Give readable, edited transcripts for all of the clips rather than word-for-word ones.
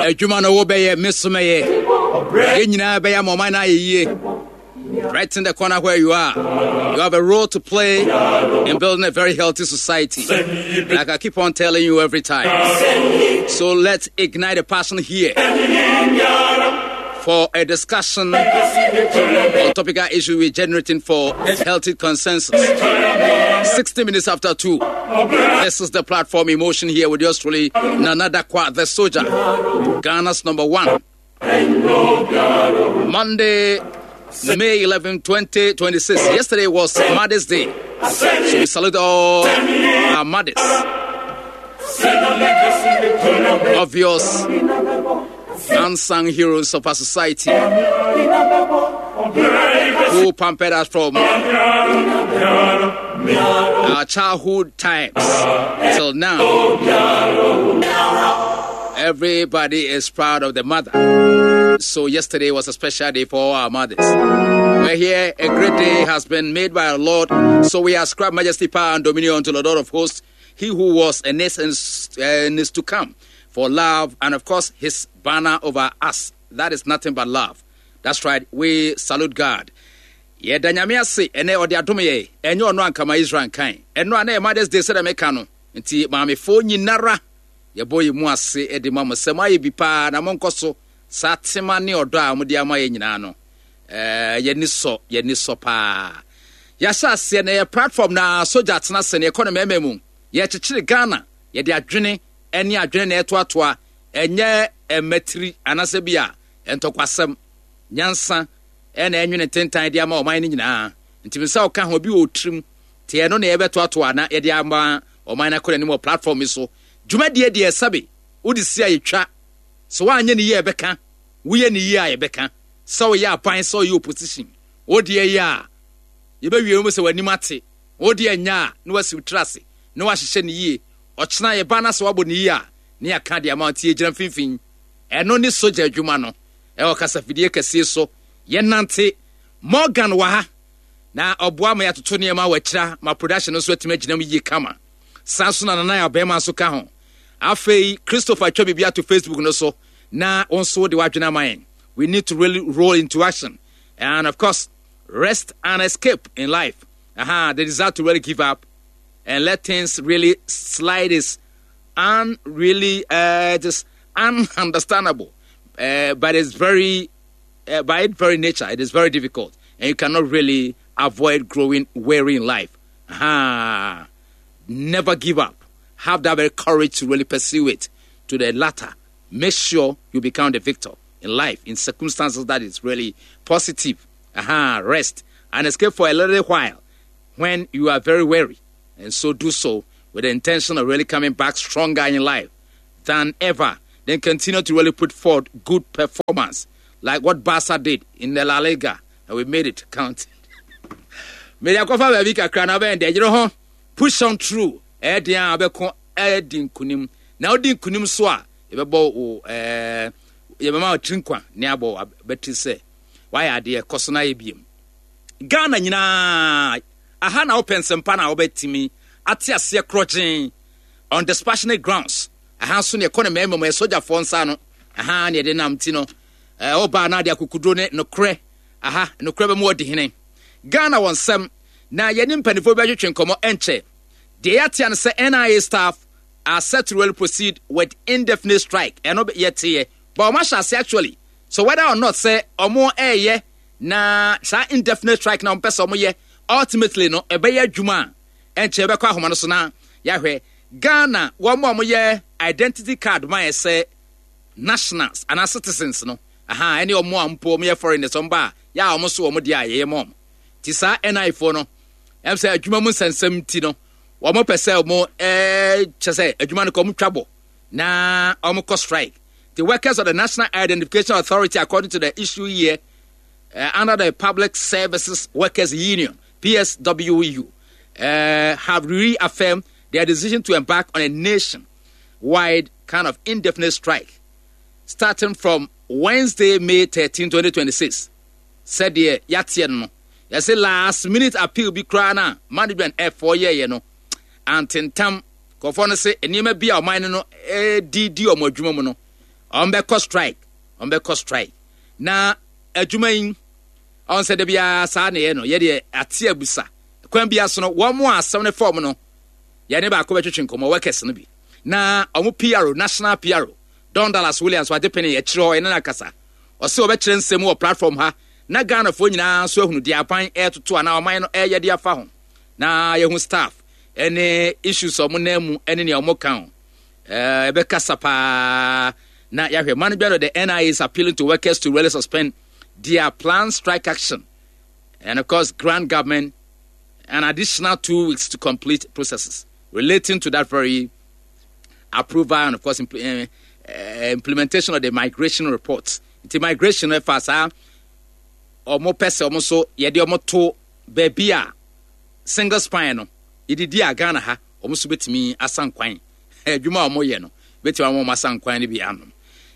Adwuma no wobɛyɛ, me so mɛyɛ. Yɛn nyinaa bɛyɛ ama ɔman no ayɛ yie. Right in the corner where you are, you have a role to play in building a very healthy society. Like I keep on telling you every time. So let's ignite a passion here for a discussion on topical issue we're generating for healthy consensus. 60 minutes after 2. This is the platform Emotion here with yours truly, Nana Dakwa, the soldier, Ghana's number one. Monday, May 11, 2026. Yesterday was Mother's Day. So we salute all our mothers. Obvious unsung heroes of our society who pampered us from our childhood times till now. Everybody is proud of the mother. So yesterday was a special day for all our mothers. We're here. A great day has been made by our Lord. So we ascribe majesty, power, and dominion unto the Lord of hosts, he who was and is and is to come for love and, of course, his banner over us. That is nothing but love. That's right. We salute God. Yɛda Nyame ase ɛnɛ ɔde adom yɛ ɛnyɛ ɔno ankama Israel nkan ɛno a na yɛ Mother's Day sɛdeɛ meka no nti maamefoɔ nyinara yɛbɔ yɛ mu ase de ma mo sɛ moayɛ bi paa na monkɔ so saa tema ne ɔdɔ a mode ama yɛ nyinaa no ɛɛ yɛni sɔ yɛni sɔ paa yɛahyɛ aseɛ na yɛ platform na sogya atena ase na yɛkɔ no mmarima mu yɛkyekyere Ghana yɛde adwene ne adwene na ɛtoatoa ɛnyɛ mmatiri anaasɛ bi a ntɔkwasɛm nyansa ɛna ɛnwene ntentan de ama ɔman no nyinaa nti sɛ ɔka ho bi wɔ tirim te ɛno na yɛbɛtoatoa na yɛde ama ɔman no akɔ n'anim wɔ platform yi so dwumadie deɛ sɛbe wode si a yɛtwa sɛ woanyɛ ne yie a yɛbɛka woyɛ ne yie a yɛbɛka sɛ woyɛ aban sɛ woyɛ opposition wodeɛ yɛ a yɛbɛwie mu sɛ w'anim ate wodeɛ nyɛ a na wasi wo tiri ase na wahyehyɛ ne yie ɔkyena yɛba na sɛ wabɔ ne yie a ne yɛaka de ama nti yɛgyina mfimfini ɛno ne sogya adwuma no ɛwɔ kasafidie kɛseɛ so yɛnante Morgan wɔ ha na ɔboa ma yɛatoto nneɛma wɔ akyira ma production no nso atumi agyina mu yie kama saa nso na nana yɛ ɔbɛrima nso ka ho afei Christopher atwa biribi ato Facebook no so na wɔn nso de wadwene ama yɛn. We need to really roll into action and, of course, rest and escape in life. Aha, the desire to really give up and let things really slide is unreally just ununderstandable, but it's very by its very nature it is very difficult and you cannot really avoid growing weary in life. Aha. Never give up. Have that very courage to really pursue it to the latter. Make sure you become the victor in life in circumstances that is really positive. Aha, rest and escape for a little while when you are very weary. And so do so with the intention of really coming back stronger in life than ever. Then continue to really put forth good performance, like what Barca did in the La Liga, and we made it count. Mede akɔfa baabi kakra na bɛn deɛ yere ho push on through ɛyɛ deɛ a wobɛko ɛdi nkunim na wodi nkunim so a yɛbɛbɔ wo ɛɛ yɛbɛma wo tiri nkwa ne abɔ bɛtiri sɛ wayɛ adeɛ kɔ so na ayɛ biem. Ghana nyinaa aha na wopɛ nsɛmpa na wobɛtumi ate aseɛ korɔgyen on dispassionate grounds. Aha nso ne ɛkɔ ne mmarima mu ɛyɛ sogyafoɔ nsa no aha ne yɛde nam ti no ɛɛ ɔbaa na ade akokuduro ne nokorɛ aha nokorɛ bɛ mu ɔdi hene. Ghana wɔ nsɛm na yɛne mpanimfoɔ bi bɛtwetwe nkɔmmɔ ɛnkyɛ. Deɛ yɛatea no sɛ NIA staff are set to really proceed with indefinite strike. Ɛno yɛteɛ but wɔn ahyɛ ase actually. So whether or not sɛ wɔn ɛɛyɛ na saa indefinite strike na wɔn pɛ sɛ wɔn yɛ ultimately no ɛbɛyɛ adwuma a ɛnkyɛ yɛbɛkɔ ahoma no so na yɛahwɛ. Ghana wɔn a wɔyɛ identity card ma yɛ sɛ nationals anaa citizens no aha ɛne wɔn a mpo wɔn yɛ foreigners wɔn ba a yɛ a wɔn so wɔn deɛ a yɛyɛ ma wɔn ti saa NI foɔ no ɛm sɛ adwuma mu nsɛnsɛm ti no wɔn pɛ sɛ wɔn ɛɛ kyɛ sɛ adwuma no kɔ wɔn twa bɔ na wɔn kɔ strike. The workers of the National Identification Authority, according to the issue here, under the Public Services Workers Union, PSWU, have reaffirmed their decision to embark on a nationwide kind of indefinite strike starting from Wednesday, May 13, 2026. Sɛdeɛ yɛateɛ no no, yɛse last minute appeal bi koraa no a management ɛfoɔ yɛeɛ no antentam. Nkurɔfoɔ no se nneɛma bi a ɔman no no di di wɔn adwuma mu no, Ɔmbɛkɔ strike, ɔmbɛkɔ strike. Na adwuma yi, ɔn sɛ da biara saa na ɛyɛ no, yɛdeɛ ate abusa. Kwan biara so no, wɔn a asɛm no fɔm no, yɛne baako bɛtwetwe nkɔmmɔ, workers no bi. Na wɔn PRO, national PRO, Don Dallas Williams, wagye pene akyire hɔ, yɛne no akasa. Ɔse ɔbɛkyerɛ nsɛm mu wɔ platform ha, na Ghanafoɔ nyinaa nso ahunu deɛ aban ɛretoto anaa ɔman no ɛreyɛ de afa ho. Na yɛhu staff ɛne issues a wɔn nan mu ɛne nea wɔn ka ho. Ɛbɛkasa paa na yɛahwɛ. Management of the NIA is appealing to workers to really suspend their planned strike action and of course grant government an additional 2 weeks to complete processes relating to that very approval and of course implementation of the migration reports. Nti migration ɛfa saa ɔmo pɛ sɛ ɔmo so yɛde ɔmo to baabi a single spine no yɛdidi a Ghana ha ɔmo nso bɛtumi asan kwan adwuma a ɔmo yɛ no bɛtumi ama ɔmo asan kwan no bi anom.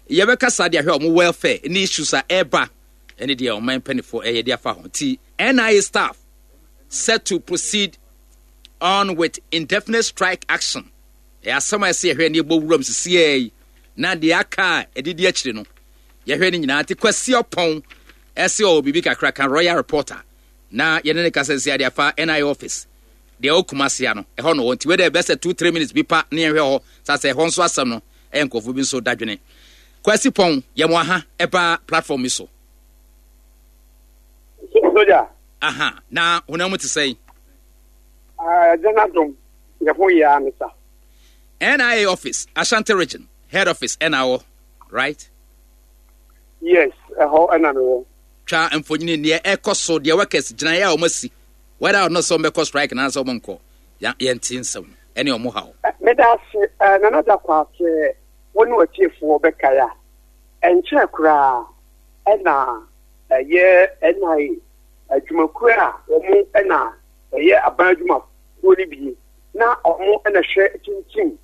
Yɛbɛkasa de ahwɛ ɔmo welfare ne issues a ɛba ɛne deɛ ɔman mpanimfoɔ ɛyɛ de afa ho. Nti NIA staff set to proceed on with indefinite strike action. Ɛyɛ asɛm a ɛsɛ yɛhwɛ ne yɛbɔ wuram sisiɛ yi na deɛ aka a ɛdidi akyire no yɛhwɛ no nyinaa. Nti Kwasi Ɔpɔn ɛsɛ ɔwɔ biribi kakra ka Royal Reporter na yɛne ne kasa nsi adeɛ afa NIA office deɛ ɛwɔ Kumasi ano ɛhɔ no wɔ. Nti wei deɛ bɛsɛ 2-3 minutes bi pa ne yɛhwɛ hɔ sa sɛ ɛhɔ nso asɛm no ɛyɛ nkurɔfoɔ bi nso dadwene. Kwasi Pɔn, yɛ mo aha ɛba platform yi so. Soja. Aha, na honam mu te sɛn? Ɛgya no adom, yɛ ho yɛ ara ne sa. NIA office, Ashanti region, head office ɛna wɔ, right? Yes, ɛhɔ ɛna mewɔ. Twa mfonyini deɛ ɛkɔ so, deɛ workers gyinaeɛ a wɔn asi, whether or not sɛ wɔn bɛkɔ strike na sɛ wɔn nkɔ, yɛnte nsɛm no ɛne wɔn haw. Meda ase, Nana Dakwah, sɛ wo ne w'atiefoɔ bɛkae a, ɛnkyɛɛ koraa ɛna ɛyɛ NIA adwumakuo a wɔn na ɛyɛ aban adwumakuo no bi na wɔn na hwɛ kyinkyim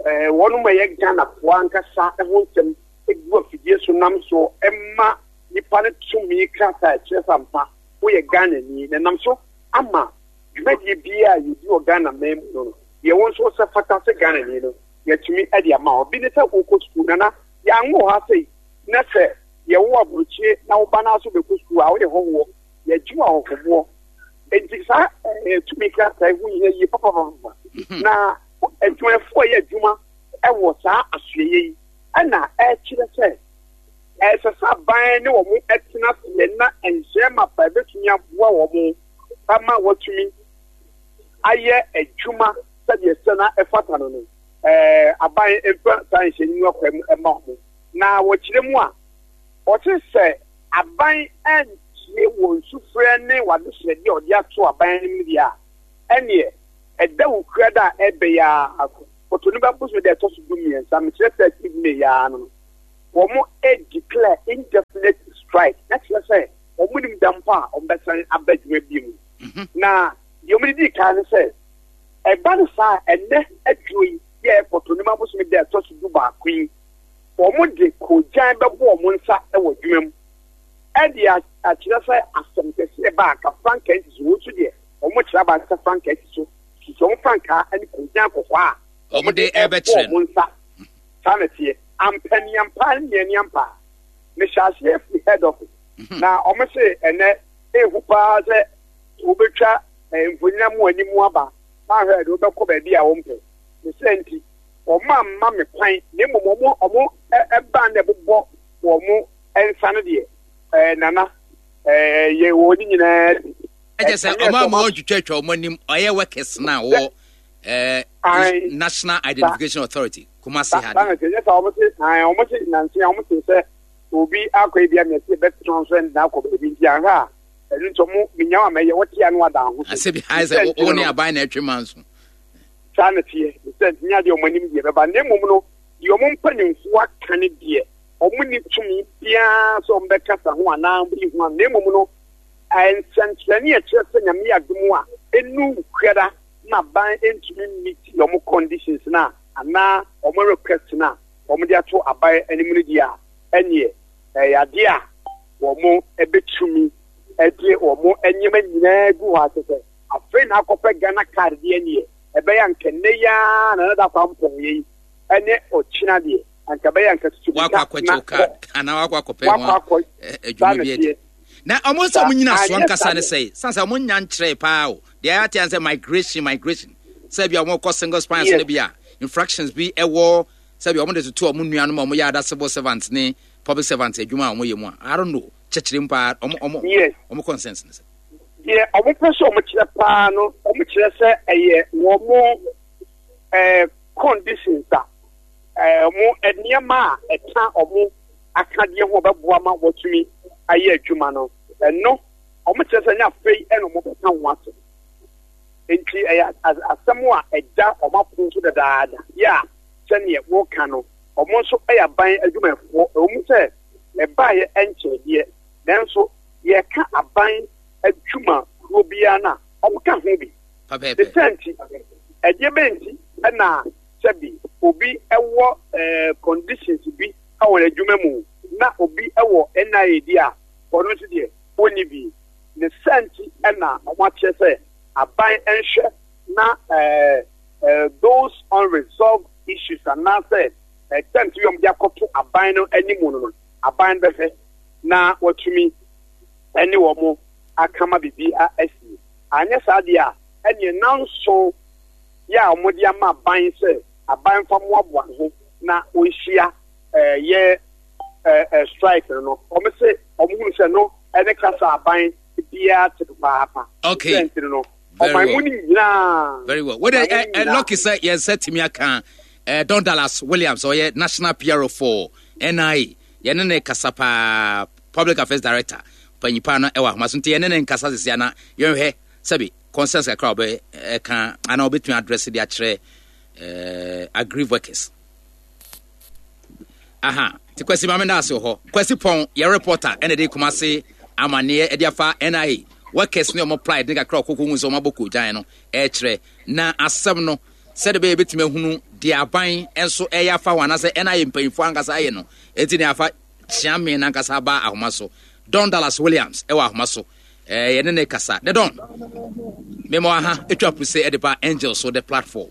wɔn ma ɛyɛ Ghanafoɔ ankasa ho nsɛm gu afidie so nam so ma nipa no tumi krataa ɛkyerɛ sɛ ampa woyɛ Ghanani, na nam so ama dwumadie biara a yɛdi wɔ Ghana man mu no, deɛ wo nso sɛ fata sɛ Ghanani no yɛatumi de ama wo. Bi ne sɛ wokɔ sukuu, Nana, yɛanwo ha sei, na sɛ yɛwo aburokyire na wo ba no nso bɛkɔ sukuu a, woyɛ hɔhoɔ, yɛgye wo ahɔhoboɔ. Enti saa tumi krataa yi ho hia yie papapapa. Na adwumayɛfoɔ a ɛyɛ adwuma wɔ saa asoɛeɛ yi ɛna ɛkyerɛ sɛ ɛsɛ sɛ aban ne wɔn tena aseɛ na nhyɛ mapa ɛbɛtumi aboa wɔn ama wɔatumi ayɛ adwuma sɛdeɛ sɛ na ɛfata no no, aban mfa saa nhyɛ no akwan mu ɛma wɔn. Na wɔkyerɛ mu a, wɔte sɛ aban antie wɔn sufrɛ ne w'adesrɛdeɛ a ɔde ato aban anim deɛ a, ɛneɛ ɛda wo kura da a ɛbɛyɛ ara Kɔtɔniba bosome da ɛtɔ so 13, mekyerɛ 13 May yi ara no, wɔn declare indefinite strike, na kyerɛ sɛ wɔn nim da mpo a wɔn bɛsan aba adwuma bi mu. Na deɛ wɔn de di kan ne sɛ, ɛba no saa ɛnɛ adwuma yi yɛ Kɔtɔniba bosome da ɛtɔ so 11 yi, wɔn de kogyan bɛbɔ wɔn nsa wɔ adwuma mu ɛde akyerɛ sɛ asɛm kɛseɛ ba a ka frankaa nsi so. Wɔn nso deɛ wɔn kyerɛ aba sɛ frankaa si so, sisi wɔn frankaa ne kogyan kɔkɔɔ a wɔn de ɛbɛkyerɛ wɔn nsa. Saa na teɛ ampaniampa ne nneɛniampa. Mehyɛ aseɛ firi head office na wɔn se ɛnɛ ehu paa sɛ wobɛtwa mfonyin mu anim aba na ahwɛ de wobɛkɔ baabi a wɔmpɛ ne sɛ nti wɔn amma me kwan, na mmom wɔn ɛban na ɛbobɔ wɔn nsa no deɛ, Nana, yɛ wɔ ne nyinaa bi. Ɛkyɛ sɛ ɔmo ama wɔn twitwatwa wɔn anim ɔyɛ workers na wɔ National Identification Authority Kumasi ha de. Ɛnyɛ sɛ wɔn se wɔn se nansi a wɔn se sɛ obi akɔ ebi amia se ɛbɛtena nso ɛnna akɔ baabi nti ahwɛ a ɛno nti wɔn minya wɔn amɛyɛ wɔte ano ada ho so. Asɛ bi ayɛ sɛ wɔn ne aban na ɛtwe ma nso. Saa na teɛ sɛ nti nyɛ adeɛ wɔn anim deɛ bɛba, na mmom no deɛ wɔn mpanimfoɔ aka ne deɛ wɔn ni tumi biara sɛ wɔn bɛkasa ho anaa wɔn bɛyi ho ano, na mmom no nsɛnkyerɛnne a ɛkyerɛ sɛ Nyame yɛ adom a ɛnu kuada na aban ntumi meet wɔn conditions na anaa wɔn request na wɔn de ato aban anim no deɛ a, ɛneɛ ɛyɛ adeɛ a wɔn bɛtumi de wɔn nneɛma nyinaa gu hɔ akyɛ sɛ afei na akɔpɛ Ghana card deɛ, neɛ ɛbɛyɛ anka nnɛ yi ara na nada kwan mpɔn yɛ yi ɛne ɔkyena deɛ. Anka ɛbɛyɛ anka tutu wakɔ akɔkyɛw card anaa wakɔ akɔpɛ ho adwuma bi adi. Na ɔmo sɛ ɔmo nyina so ankasa ne sɛ san sɛ ɔmo nya nkyerɛ paa o. Deɛ ayɛ ate sɛ migration migration sɛ bi a ɔmo kɔ single spine so ne bi a infractions bi ɛwɔ sɛ bi ɔmo de toto ɔmo nuanom a ɔmo yɛ ada civil servants ne public servants adwuma a ɔmo yɛ mu a, I don't know, kyɛkyerɛ mu paa ɔmo ɔmo ɔmo concerns ne sɛ. Deɛ ɔmo pɛ sɛ ɔmo kyerɛ paa no, ɔmo kyerɛ sɛ ɛyɛ wɔn conditions a wɔn nneɛma a ɛka wɔn akadeɛ ho ɔbɛboa ma wɔatumi ayɛ adwuma no. Ɛno wɔn kyerɛ sɛ nyɛ afei ɛna wɔn bɛka ho asɛm. Nti ɛyɛ asɛm a ɛda wɔn apon so dadaada. Yɛ a sɛdeɛ wɔka no, wɔn nso yɛ aban adwumayɛfoɔ. Ɛwɔ mu sɛ ɛbaeɛ nkyɛe deɛ, nanso yɛka aban adwuma kuo biara no a, wɔka ho bi. Ne sɛ nti, ɛdeɛ bɛn nti na sɛbi obi wɔ conditions bi wɔ n'adwuma mu na obi wɔ NIA di a, ɔno nso deɛ ɔnni bi? Ne sɛ nti na wɔakyerɛ sɛ aban nhwɛ na those unresolved issues anaasɛ terms bi a wɔde akɔto aban no anim no, aban no bɛhwɛ na watumi ne wɔn aka ma biribi asi. Anyɛ saa deɛ a, ɛneɛ nnanson yɛ a wɔde ama aban sɛ aban mfa mmoaboa ne ho na wɔnhyia yɛ strike no no, wɔn se wɔn hunu sɛ no ne kasa aban biara te papaapa. Okay. Sɛ nti no, ɔman mu no nyinaa. Very well. Wode lucky sɛ yɛn nsa tumi aka Don Dallas Williams, ɔyɛ national PRO for NIA. Yɛne ne kasa paa, public affairs director panyipa no ɛwɔ ahoma so, nti yɛne ne nkasa sisi ana yɛnhwɛ sɛbi concerns kakra a ɔbɛ ɛka ana ɔbɛtumi address de akyerɛ aggrieved workers. Aha, nti Kwasi maame da ase wɔ hɔ. Kwasi Pɔn yɛ reporter ɛna de Kumase amaneɛ ɛde afa NIA workers ne ɔmo pride ne kakra ɔkoko hu sɛ ɔmo abɔ koogyan no ɛkyerɛ na asɛm no sɛde bɛyɛ bɛtumi ahunu deɛ aban nso ɛyɛ afa ho anaasɛ NIA mpanyinfoɔ ankasa ayɛ no. Enti ne afa Kyeame nankasa aba ahoma so. Don Dallas Williams ɛwɔ ahoma so. Yɛne ne kasa. The Don. Mema aha etwa puse ɛde ba Angel so the platform.